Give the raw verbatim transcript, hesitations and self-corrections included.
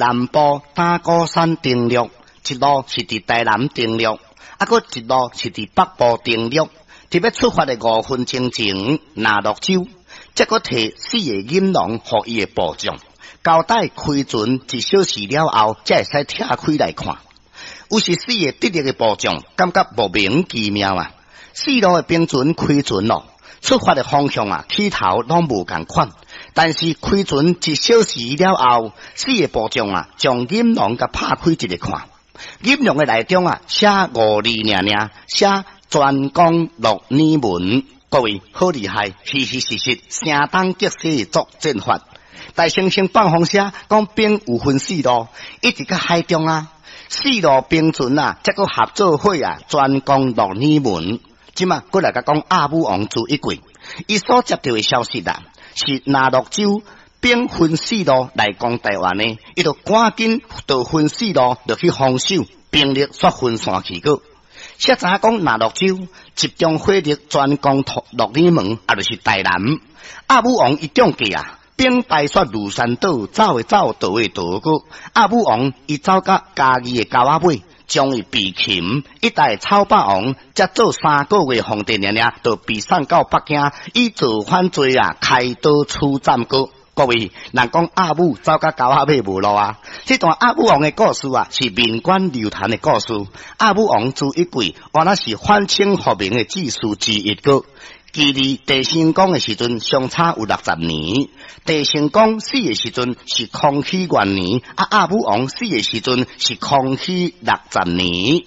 南部打鼓山登陸，一路是佇台南登陸，啊，閣一路是佇北部登陸。佇欲出發的五分鐘前，那樂洲才閣提四个銀籠予伊的部將，交代開船一小時了後，才會使拆開來看。有是四个得力的部將，感覺莫名其妙啊！四路的兵船開船咯，出發的方向啊，起頭攏無仝款。但是開船一小時了後，四个部將啊，將銀籠共拍開一个看，銀籠的內中啊，寫五字爾爾，寫專攻鹿耳門。各位好厲害，虛虛實實，聲東擊西作戰法。大猩猩放風聲，講兵有分四路，一直佮海中啊，四路兵船啊，才閣合做伙啊，專攻鹿耳門。這馬閣來共講阿武王朱一貴，伊所接著的消息啊，是那樂洲兵分四路來攻台灣的，伊就趕緊就分四路就去防守，兵力煞分散去閣。誰知影講那樂洲集中火力專攻鹿耳門，也就是台南。阿武王伊中計啊，兵敗煞呂山島，走的走，逃的逃閣。阿武王伊走到嘉義的溝仔尾，將伊被擒，一代草霸王才做三个月皇帝爾爾，就被送到北京，以造反罪啊開刀處斬閣。各位，人講阿武走到溝仔尾無路啊！這段阿武王的故事啊，是民間流傳的故事。阿武王朱一貴，原來是反清復明的志士之一閣。距離鄭成功的時陣相差有六十年。鄭成功死的時陣是康熙元年，啊阿武王死的時陣是康熙六十年。